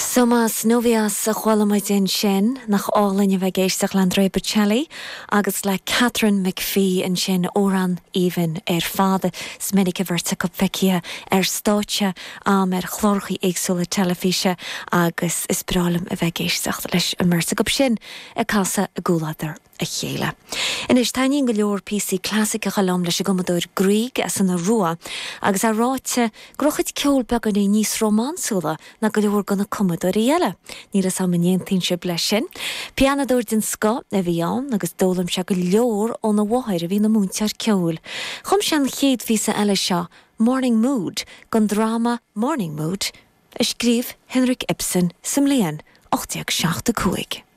Somos Novios a chuala muid ansin, nach álainn a bheith ag éisteacht le Andrea Bocelli agus le Katharine McPhee ansin, amhrán aoibhinn ar fad. Is minic an bheirt acu feicthe ar stáitse a'm ar chláracha éagsúla teilifíse agus is breá liom a bheith ag éisteacht leis an mbeirt acu sin ag casadh i gcomhluadar a chéile. Anois, taitníonn go leor píosaí clasaiceacha liom leis an gcumadóir Grieg as an Iorua agus é ráite go raibh a chuid ceoil beagáinín níos rómánsúla ná go leor de na cumadóirí eile. Níl 'fhios a'm an aontaíonn sibh leis sin. Pianadóir den scoth a bhí ann agus d'fhoghlaim sé go leor óna mháthair a bhí ina múinteoir ceoil. Chum sé an chéad phíosa eile seo, Morning Mood, don dráma Morning Mood a scríobh Henrik Ibsen sa mbliain 1875.